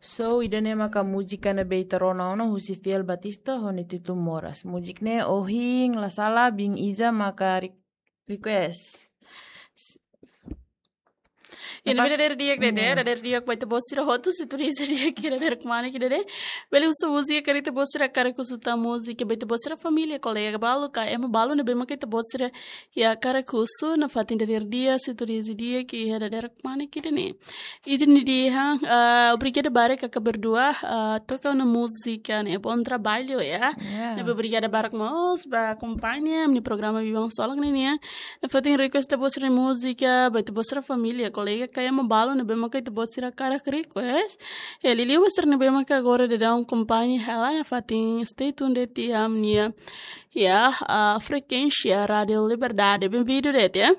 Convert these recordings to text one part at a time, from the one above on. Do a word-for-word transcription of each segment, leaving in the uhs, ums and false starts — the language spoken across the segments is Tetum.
So, ida-ne'e maka múzika ne'ebé ita rona ona husi Fiel Batista ho nia títulu Moras. Múzika ne'e ohin la sala biin Iza maka re-, request. Ida-ne'e dadeer di'ak de'it, dadeer di'ak ba ita-boot sira hotu, sintonia di'ak ida-ne'e, kmanek ida-ne'e. Bele husu múzika karik ita-boot sira hakarak husu tan múzika ba ita-boot sira família, kolega balu ka ema balu ne'ebé maka ita-boot sira hakarak husu, nafatin dadeer di'ak, sintonia di'ak ida-ne'e, kmanek ida-ne'e. Ida-ne'e dehan, ah, obrigada barak kaka berdua, ah, toka ona múzika ne'e, bom trabalho, ya. Ya. Ne'ebé obrigada barak mós ba akompaña ami-nia programa Biban Solok ne'e nian. Nafatin request ita-boot sira múzika ba ita-boot sira família, kolega ka ema balu ne'ebé maka ita-boot sira hakarak request. Ya, liuliu ba sira ne'ebé maka agora daudaun akompaña hela, nafatin stay tuned de'it iha ami-nia, ya, ah, frekuénsia Rádio Liberdade. Benvindu de'it, ya.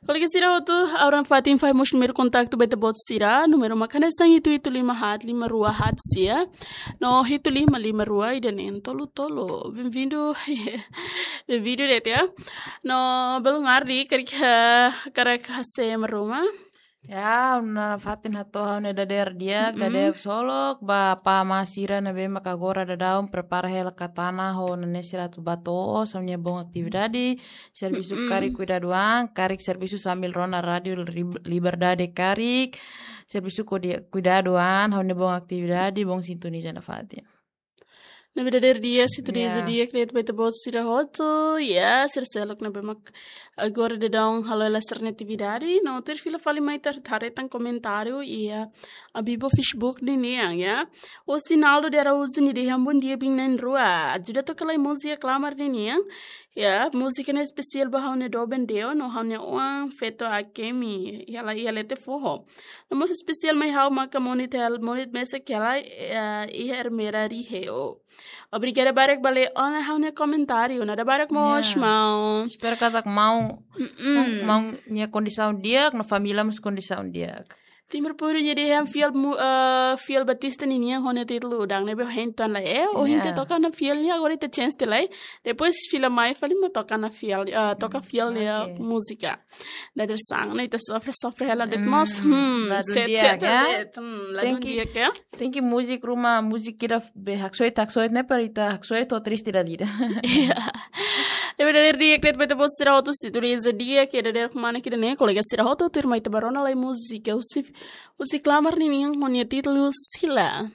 Kolega sira hotu, agora nafatin fahe mós númeru kontaktu ba ita-boot sira, númeru maka hanesan hitu hitu lima haat lima rua haat sia, no hitu lima lima rua ida neen tolu tolu. Benvindu, benvindu de'it, ya. No, belun ardi, karik, eh, hakarak hase'e ema ruma. Ya, nafatin hato'o ha'u-nia dadeer di'ak, dadeer solok, ba apá amá sira ne'ebé maka agora daudaun prepara hela katana ho ne'e sira atu bá to'os, ha'u-nia boot atividade, servisu karik kuidadu an, karik servisu sambil rona Rádio Lib-, Liberdade karik, servisu kodi-, kuidadu an, ha'u-nia boot atividade, bom sintonia nafatin. Ne'ebé dadeer di'ak, sintonia di'ak de'it ba ita-boot sira hotu, ya, sira seluk ne'ebé mak agora daudaun halo hela sira-nia atividade, no tuir fila fali mai ita haree tan komentáriu iha, ah, Bibo Facebook ninian, ya. Ostinaldo de Araújo nia dehan bom dia biin na'in-rua. Ajuda toka lai múzika Klamar ninian. Ya, múzika ne'e espesiál ba ha'u-nia doben Deo, no ha'u-nia oan feto Akemi, iha la, iha leten foho. No mós espesiál mai ha'u maka Monit hela, Monit mesak hela, eh, iha Ermera Riheo. Obrigada barak ba Leona ha'u-nia komentáriu, nada barak mós, maun. Espera katak maun, maun nia kondisaun di'ak, no família mós kondisaun di'ak. Timur Puru nia dehan Fiel mu-, eh, Fiel Batista ninian ho nia títulu Udang ne'ebé hein tan lai. Eh, ohin ita toka ona Fiel nian, agora ita change tiha lai. Depois fila mai fali mak toka ona Fiel, eh, toka Fiel nia múzika. Dadeer-saan ne'e ita sofre, sofre hela de'it mós. Hmm, ladún di'ak, ya. Hmm, ladún di'ak, ya. Tenke múzika ruma, múzika ida be haksoit, haksoit ne'e para ita haksoit ho triste dala ida. Ya. Ne'ebé dadeer di'ak de'it ba ita-boot sira hotu, sintonia di'ak ida-ne'e, kmanek ida-ne'e, kolega sira hotu, tuirmai ita bá rona lai múzika husi, husi Klamar ninian ho nia títulu Sila.